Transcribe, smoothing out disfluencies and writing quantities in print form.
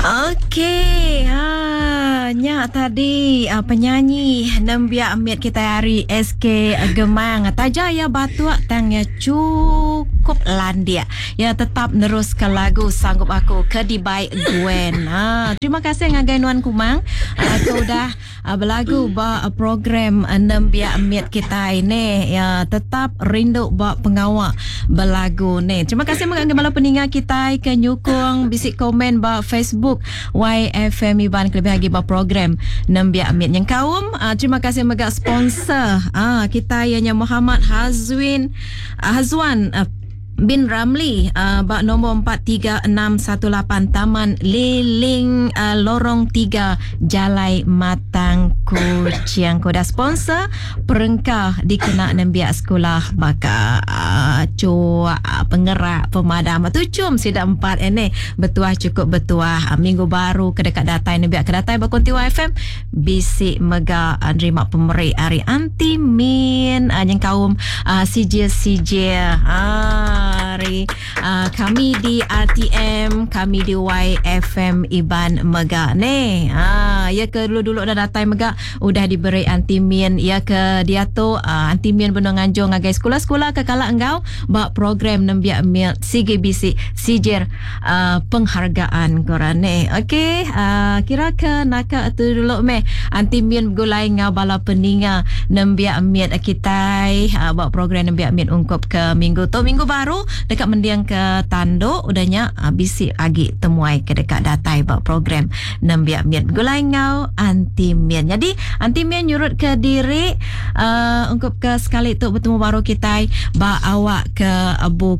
Okey, ha nya tadi uh, penyanyi nembiak mit kita hari SK Gemang. Taja ya batuk tang ya cukup landik. Ya tetap nerus ke lagu Sanggup Aku ke dibai Gwen. Ha, terima kasih ngagai nuan Kumang uh, ke udah uh, belagu ba program nembiak mit kita ini. Ya tetap rindu ba pengawa belagu ni. Terima kasih mega ngagai bala peninga kitai ke nyukung bisi komen ba Facebook YFM Iban kelebih agi ba program Nembiak Mit nyengkaum. Uh, terima kasih mega sponsor uh, kitai ianya Muhammad Hazwin uh, Hazwan uh, bin Ramli uh, ba nombor 43618 Taman Liling uh, Lorong 3 Jalai Matang Kuching. Ku dah sponsor perengka dikena nembiak sekula baka chuk, pengerak, pemadam. Tuchum sida empat ini betuah chukup betuah. Minggu baru ke deka datai nembiak ke datai ba Konti YFM bisi mega nerima pemeri ari Aunty Min nyengkaum sijil-sijil ari kami di RTM, kami di YFM Iban mega neh. Iya ke dulu-dulu udah datai mega udah diberi Aunty Min. Iya ke diatu Aunty Min benung nganjung ngagai sekula-sekula ke kala enggau ba program nembiak mit sigi bisi sijir penghargaan ku orang neh. Okey, kira ke naka tu dulu meh Aunty Min begulai enggau bala peninga nembiak mit kitai ba program nembiak mit ungkup ke minggu tu. Minggu baru deka mending ke tandu udah nya bisi agi temuai ke deka datai ba program nembiak mit begulai enggau Aunty Min. Nyadi Aunty Min nyurut ke diri uh, ungkup ke sekali tu betemu baru kitai ba awak ke bukai.